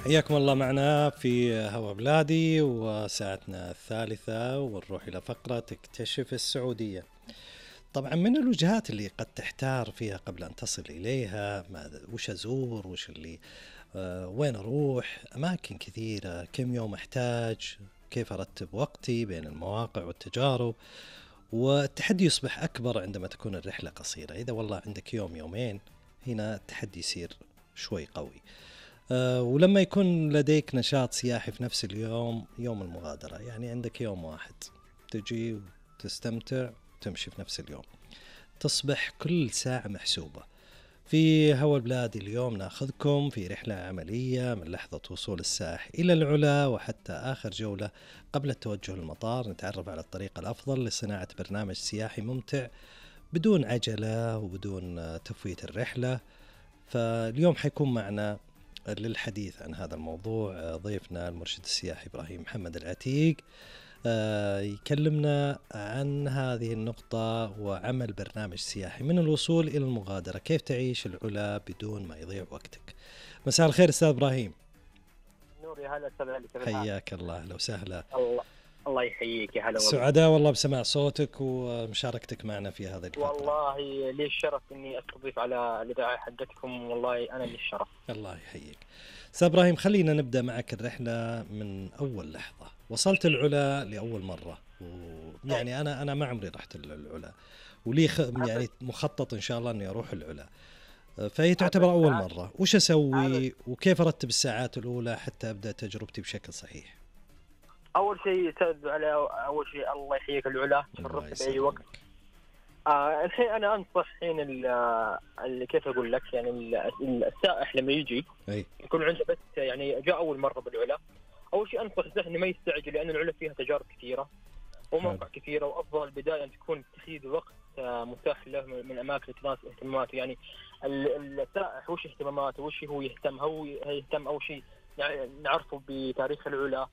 حياكم الله معنا في هوا بلادي وساعتنا الثالثة، ونروح إلى فقرة اكتشف السعودية. طبعا من الوجهات اللي قد تحتار فيها قبل أن تصل إليها، وش أزور، وش اللي وين أروح، أماكن كثيرة، كم يوم أحتاج، كيف أرتب وقتي بين المواقع والتجارب. والتحدي يصبح أكبر عندما تكون الرحلة قصيرة. إذا والله عندك يوم يومين، هنا التحدي يصير شوي قوي. ولما يكون لديك نشاط سياحي في نفس اليوم، يوم المغادرة، يعني عندك يوم واحد تجي وتستمتع وتمشي في نفس اليوم، تصبح كل ساعة محسوبة. في هوا البلاد اليوم ناخذكم في رحلة عملية من لحظة وصول السائح إلى العلا وحتى آخر جولة قبل التوجه للمطار. نتعرف على الطريقة الأفضل لصناعة برنامج سياحي ممتع بدون عجلة وبدون تفويت الرحلة. فاليوم حيكون معنا للحديث عن هذا الموضوع ضيفنا المرشد السياحي إبراهيم محمد العتيق، يكلمنا عن هذه النقطة وعمل برنامج سياحي من الوصول إلى المغادرة، كيف تعيش العلا بدون ما يضيع وقتك. مساء الخير أستاذ إبراهيم. نور، يا هلا أستاذ علي، حياك الله، أهلا وسهلا. الله يحييك، يا هلا والله. سعداء والله بسماع صوتك ومشاركتك معنا في هذه الفترة. والله لي الشرف إني أستضيف على الإذاعة حقتكم، والله أنا لي الشرف. الله يحييك. أستاذ إبراهيم، خلينا نبدأ معك الرحلة من أول لحظة. وصلت العلا لأول مرة، ويعني أنا ما عمري رحت العلا، ولي يعني مخطط إن شاء الله إني أروح العلا، فهي تعتبر أول مرة. وش أسوي وكيف أرتب الساعات الأولى حتى أبدأ تجربتي بشكل صحيح؟ أول شيء أستاذ على أول شيء الله يحييك العلا، تشرفت بأي وقت. الحين أنا أنصح حين اللي كيف أقول لك، يعني السائح لما يجي يكون عنده بس يعني جاء أول مرة بالعلا، أول شيء أنصح السائح إنه ما يستعجل، لأن العلا فيها تجارب كثيرة ومواقع كثيرة، وأفضل البداية أن تكون تخيذ وقت متاح له من أماكن تناسب اهتماماته. يعني السائح وش اهتماماته، وش هو يهتم أول شيء يعني نعرفه بتاريخ العلا،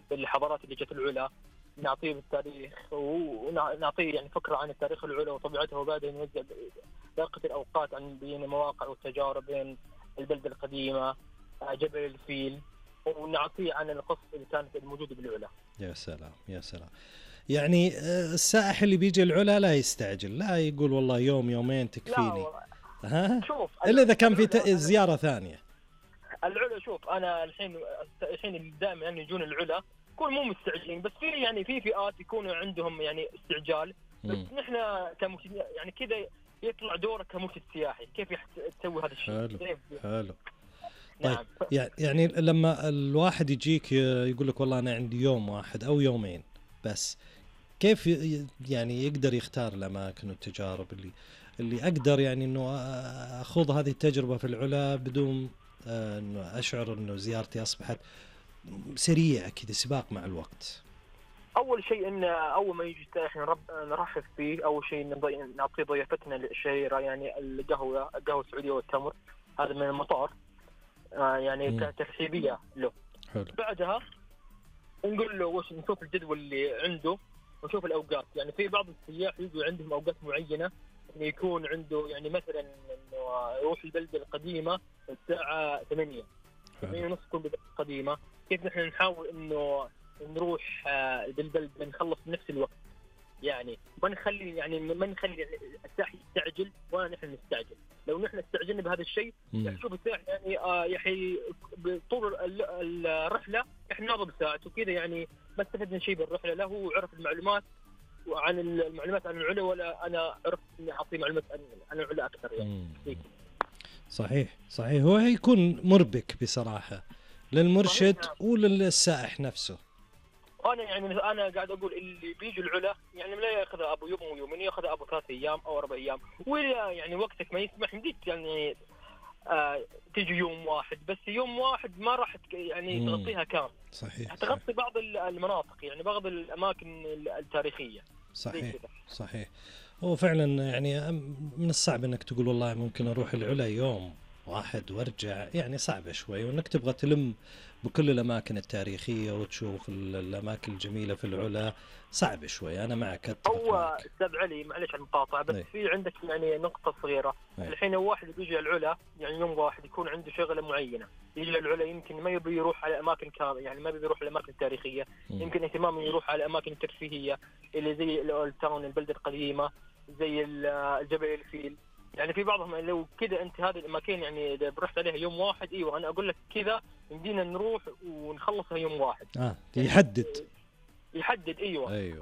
بالحضارات اللي جت العلا، نعطيه بالتاريخ ونعطيه يعني فكرة عن التاريخ العلا وطبيعته، وبعدين نوزع باقة الأوقات عن بين المواقع والتجارب بين البلدة القديمة جبل الفيل، ونعطيه عن القصة اللي كانت الموجودة بالعلا. يا سلام يا سلام. يعني السائح اللي بيجي العلا لا يستعجل، لا يقول والله يوم يومين تكفيني. شوف، إلا إذا كان في زيارة ثانية. العلا شوف، أنا الحين اللي دائما يعني يجون العلا يكون مو مستعجلين، بس في يعني في فئات يكونوا عندهم يعني استعجال، بس نحن يعني كذا يطلع دورك كمرشد سياحي كيف تسوي هذا الشيء. حلو. نعم. طيب يعني لما الواحد يجيك يقول لك والله أنا عندي يوم واحد أو يومين بس، كيف يعني يقدر يختار الأماكن والتجارب اللي أقدر يعني إنه أخوض هذه التجربة في العلا بدون إنه أشعر إنه زيارتي أصبحت سريعة كذا، سباق مع الوقت؟ أول شيء إن أول ما يجي السائح نرحب فيه. أول شيء نعطيه ضيافتنا الشهيرة، يعني القهوة السعودية والتمر، هذا من المطار، يعني كترحيبية له. حلو. بعدها نقول له وش، نشوف الجدول اللي عنده ونشوف الأوقات. يعني في بعض السياح يجوا عندهم أوقات معينة، إنه يكون عنده يعني مثلا إنه يروح البلدة القديمة الساعة 8 ونص تكون البلدة القديمة. كيف نحن نحاول إنه نروح بالبلدة نخلص بنفس الوقت، يعني ما نخلي السائح يستعجل ولا نحن نستعجل. لو نحن استعجلنا بهذا الشيء يشوف السائح يعني يحي طول الرحلة احنا ناظر ساعته وكذا، يعني ما استفدنا شيء بالرحلة. لا هو عرف المعلومات عن العلا، ولا أنا عرفت إني أعطي معلومات عن العلا أكثر يعني. صحيح. هو هيكون مربك بصراحة للمرشد وللسائح نفسه. أنا قاعد أقول اللي بيجي العلا يعني لا يأخذ أبو يوم ويومين، يأخذ أبو 3 أيام أو 4 أيام، ولا يعني وقتك ما يسمح مديك يعني تيجي يوم واحد بس. يوم واحد ما راح يعني تغطيها كامل. صحيح. تغطي بعض المناطق، يعني بعض الأماكن التاريخية. صحيح. هو فعلا يعني من الصعب انك تقول والله ممكن اروح العلا يوم واحد وارجع، يعني صعبة شوي، وانك تبغى تلم بكل الاماكن التاريخية وتشوف الاماكن الجميلة في العلا، صعب شوي. انا معك، اتفق هو معك. استاذ علي معلش على المقاطعه، بس في عندك يعني نقطه صغيره. الحين واحد بيجي العلا، يعني يوم واحد يكون عنده شغله معينه، يجي العلا يمكن ما يبي يروح على اماكن يعني ما يبي يروح للاماكن التاريخيه، يمكن اهتمامه يروح على الاماكن الترفيهيه اللي زي الاولد تاون، البلده القديمه، زي الجبل الفيل. يعني في بعضهم لو كذا انت هذه الاماكن يعني اذا رحت عليها يوم واحد، ايوه انا اقول لك كذا يمدينا نروح ونخلصها يوم واحد. يحدد أيوة.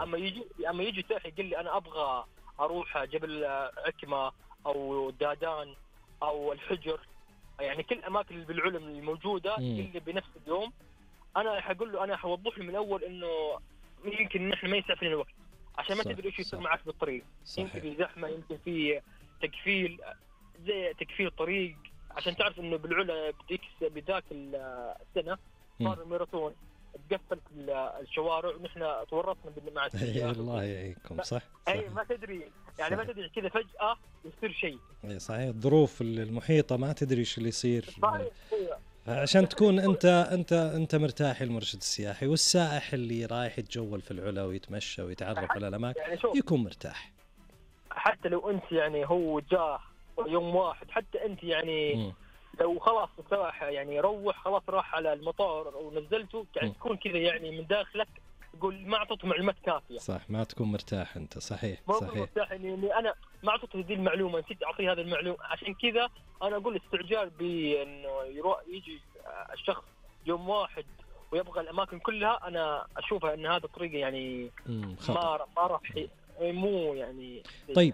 اما يجي سائح يقول لي انا ابغى اروح جبل عكمه او دادان او الحجر، يعني كل الاماكن اللي بالعلم الموجوده اللي بنفس اليوم، انا حقول له، انا حوضح له من الاول انه يمكن نحن ما يسعفنا الوقت، عشان ما تدري ايش يصير معك بالطريق. يمكن زحمه، يمكن في تكفيل، زي تكفيل طريق، عشان تعرف انه بالعلا بذاك السنه صار الماراثون، تقفلت الشوارع ونحن تورطنا مع السياح. الله يعينكم. صح. اي ما تدري يعني صحيح. ما تدري كذا فجأة يصير شيء. اي صحيح، الظروف المحيطة ما تدري ايش اللي يصير. عشان تكون انت مرتاح، المرشد السياحي والسائح اللي رايح يتجول في العلا ويتمشى ويتعرف على الاماكن يعني يكون مرتاح. حتى لو انت يعني هو جاه يوم واحد، حتى انت يعني لو خلاص السائح يعني روح خلاص راح على المطار ونزلته، يعني تكون كذا يعني من داخلك تقول ما اعطيته معلومات كافيه. صح، ما تكون مرتاح انت. صحيح ما صحيح. مرتاح اني انا ما اعطيته هذه المعلومه، نسيت اعطيه هذه المعلومه. عشان كذا انا اقول استعجال بانه يجي الشخص يوم واحد ويبغى الاماكن كلها، انا اشوفها ان هذا طريقه يعني ما راح مو يعني. طيب